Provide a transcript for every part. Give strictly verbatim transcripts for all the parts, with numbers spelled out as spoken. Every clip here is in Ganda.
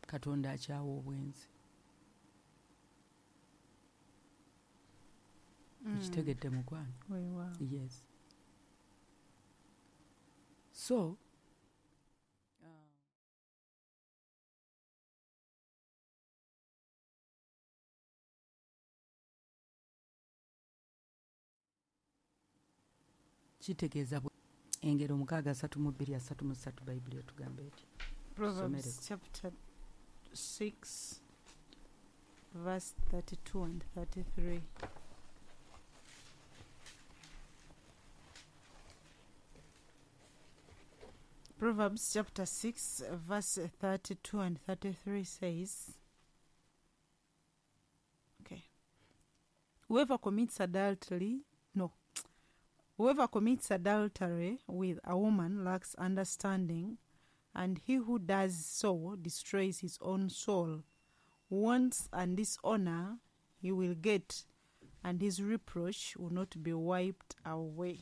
Katonda akyawa obwenzi. Okitegedde, mukwano? Weewaawo. Yes, so uh, kitegeeza bwe- Engero mukaaga asatu mu bbiri asatu mu ssatu, Bayibuli etugamba eti? Proverbs Somereko. chapter six, verse thirty-two and thirty-three. Proverbs chapter six, verse thirty-two and thirty-three says, okay. Whoever commits adultery, no. Whoever commits adultery with a woman lacks understanding, and he who does so destroys his own soul. Wounds and dishonor he will get, and his reproach will not be wiped away.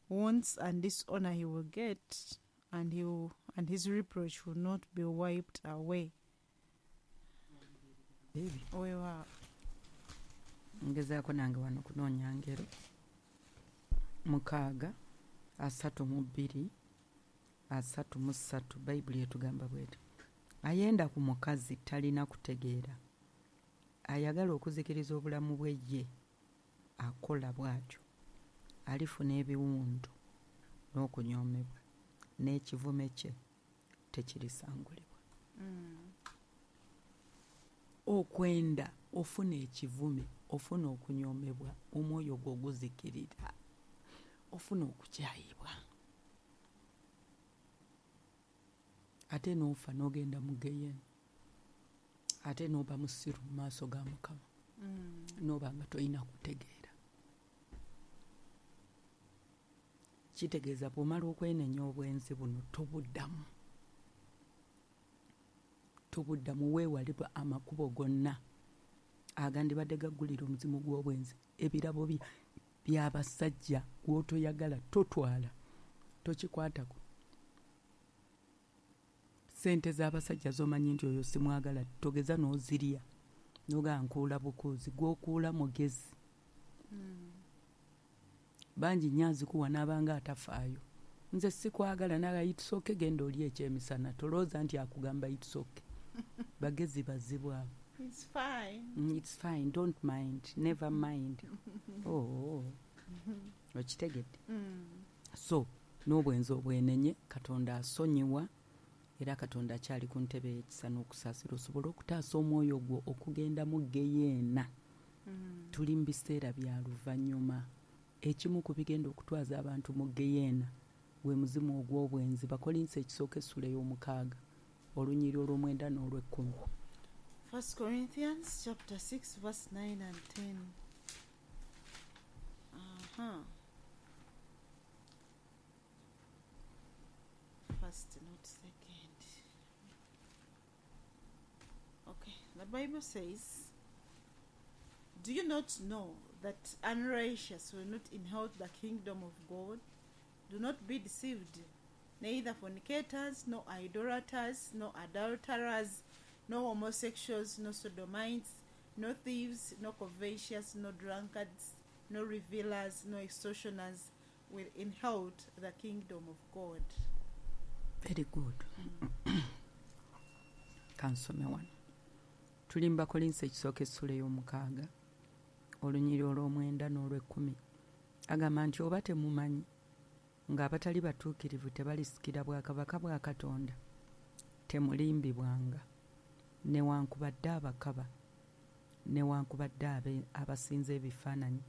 Wounds and dishonor he will get, and he will, and his reproach will not be wiped away. Baby. Weewaawo. Ngezaako nange wano kunoonya ngero mukaaga asatu mu bbiri asatu mu ssatu. Bayibuli etugamba bweti: ayenda ku mukazi talina kutegeera, ayagala okuzikiriza obulamu bwe ye akola bw'atyo alifuna ebiwundu n'okunyoomebwa, n'ekivume kye tekirisangulibwa. Okwenda ofuna ekivume, ofuna okunyoomebwa, omwoyo gwo guzikirira, ofuna okukyayibwa, ate n'ofa n'ogenda mu geyena, ate n'oba musiru mu maaso ga Mukama, n'oba nga tolina kutegeera. Kitegeeza bw'omala okwenenya obwenzi buno, tobuddamu, tobuddamu. Weewalibwa amakubo gonna agandibadde gaggulira omuzimu gw'obwenzi. Ebirabo bya- by'abasajja gw'otoyagala totwala, tokikwatako. Sente z'abasajja z'omanyi nti oyo simwagala, togeza n'ozirya nogaa nkuula bukuuzi. Gw'okuula mugezi bangi nnyo azikuwa n'abanga atafaayo. Nze sikwagala naga, it's okay, genda oli ekyemisana. Tolowooza nti akugamba it's okay. Bagezi bazibu abo. It's fine. Mm, it's fine, don't mind, never mind. oh, oh. Okitegedde? So n'obwenzi obwenenye, Katonda asonyiwa, era Katonda akyali ku ntebe y'ekisa n'okusaasira, osobole okutaasa omwoyo gwo okugenda mu geyeena. Tuli mu biseera bya luvannyuma. Ekimu ku bigenda okutwaza abantu mu geyeena gwe muzimu ogw'obwenzi. Bakolinsi ekisooka essula ey'omukaaga olunyiri olw'omwenda n'olw'ekkumi. First Corinthians chapter six, verse nine and ten. Uh-huh. First, not second. Okay, the Bible says, "Do you not know that unrighteous will not inherit the kingdom of God? Do not be deceived. Neither fornicators, nor idolaters, nor adulterers, no homosexuals, no sodomites, no thieves, no covetous, no drunkards, no revilers, no extortioners will inherit the kingdom of God." Very good. Kansome wano. Tuli mu Bakolinsi ekisooka essula ey'omukaaga olunyiri olw'omwenda n'olw'ekkumi. Agamba nti, oba temumanyi ng'abatali batuukirivu tebalisikira bwakabaka bwa Katonda? Temulimbibwanga, newankubadde abakaba, newankubadde abe- abasinza ebifaananyi,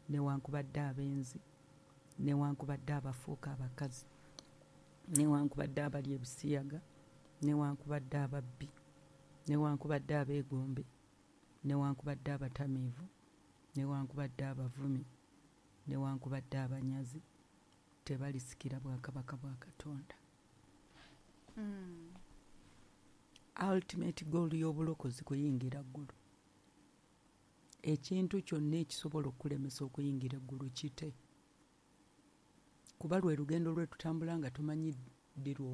newankubadde abenzi, newankubadde abafuuka abakazi, newankubadde abalya ebisiyaga, newankubadde ababbi, newankubadde abeegombe, newankubadde abatamiivu, newankubadde abavumi, newankubadde abanyazi, tebalisikira bwakabaka bwa Katonda. Ultimate goal y'obulokozi kuyingira ggulu. Ekintu kyonna ekisobola okukulemesa okuyingira eggulu kite, kuba lwe lugendo lwe tutambula nga tomanyi ddi lwofa.